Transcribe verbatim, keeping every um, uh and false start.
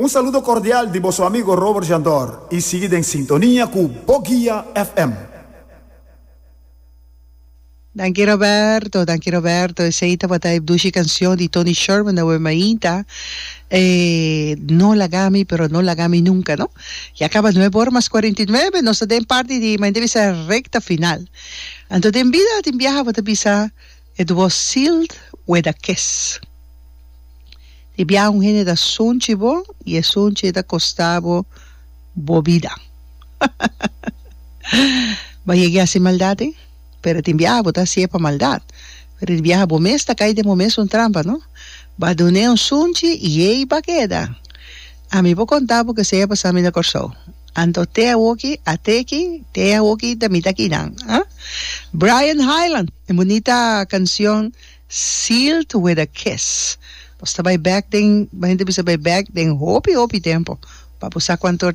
Un saludo cordial di boso amigo Robert Jandor y sigui den sintonia cu Bo Guia F M. Danki, Roberto, danki, Roberto. Esey tabata e dushi cancion di Tony Sherman, Awe Mainta. Eh, no lagami, pero no lagami nunca, no? Ya caba nuebe or mas cuarenta y nuebe, nos ta den parti di, mi bisa, recta final. Anto den bida tin biaha bo ta bisa, "It was sealed with a kiss." Tin biaha un hende ta sunchi bo y e sunchi ta costa bo bo bida. Bo a yega haci maldad, eh? Pero tin biaha bo ta haci'e pa maldad. Pero tin biaha bo mes ta cay den bo mes un trampa, no? B'a dun'e un sunchi y ey b'a keda. Ami por conta bo cu esey a pasa mi na Corsou. Anto te awoki, ateki, te awoki ta mi ta akinan. Ah? Brian Hyland, e bunita cancion "Sealed with a Kiss". Nos ta bay back den, hende bisa bay back den hopi hopi tempo. Pa bo sa cuanto.